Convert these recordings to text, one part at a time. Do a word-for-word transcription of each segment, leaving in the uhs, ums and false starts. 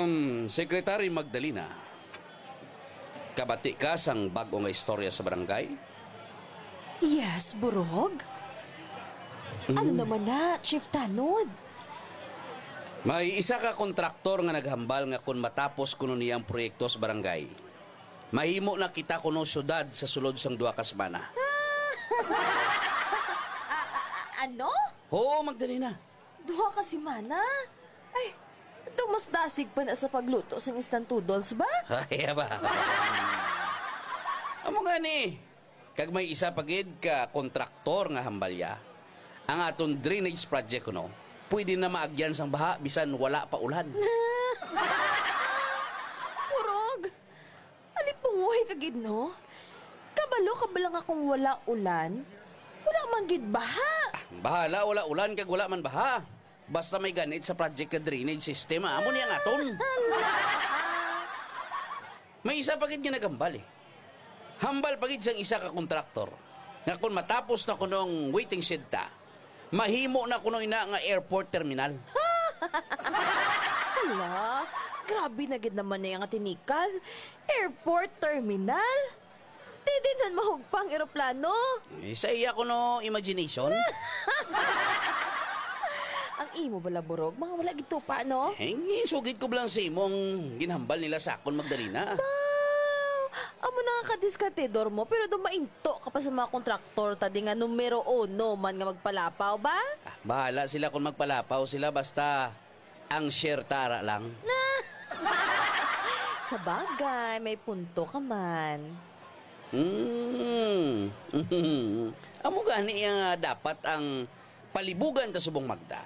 Hmm, Secretary Magdalena, kabati ka sang bag-o nga istorya sa barangay? Yes, Burog. Ano Mm. naman na, Chief Tanod? May isa ka kontraktor nga naghambal nga kon matapos kuno niya ang proyekto sa barangay, mahimo na kita kuno syudad sa sulod sang duha ka semana. A-, a-, a-, ano? Oo, Magdalena. Duha ka semana? Ay, daw mas dasig pa na sa pagluto sang instant noodles ba? Ay, ba? Amo nga ni, kag may isa pa gid ka kontraktor nga hambalya, ang aton drainage project kuno, pwede na maagyan sang baha bisan wala pa ulan. Purog! Alipungoy ka gid, no? Kabalo ka bala nga kung wala ulan, wala man gid baha. Bahala, wala ulan kag wala man baha. Basta may ganit sa project ka drainage system, ah. Amo niya nga aton. May isa pa gid nga nagambal, eh. Hambal pa gid sang isa ka kontraktor nga kung matapos na kunong waiting shed ta, mahimo na kuno ina nga airport terminal. Hala, grabe na gid naman na nga tinikal. Airport terminal? Di din man mahugpa ang eroplano. Eh, sa iya kuno imagination. Ang imo bala, Burog, mga wala gid tupa, no? Eh, ginsugid ko lang sa imo ang ginhambal nila sa akon, Magdalena. Ba, amo na nga kadiskatidor mo, pero dumainto ka pa sa mga kontraktor ta di nga numero uno man nga magpalapaw ba? Ah, bahala sila kung magpalapaw sila, basta ang share tara lang. Sa bagay, may punto ka man. Hmm. Amo gani nga dapat ang palibugan ta subong Magda.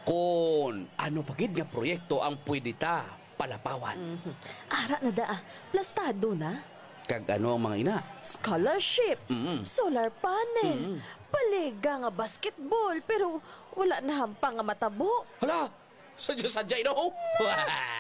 Kon ano pa gid nga proyekto ang pwede ta palapawan? Mhm. Ara na da, ah. Plastado na. Kag ano ang mga ina? Scholarship, Mm. solar panel, Mm. paliga nga basketball, pero wala na hampang nga matabo. Hala! Sadya-sadya, no?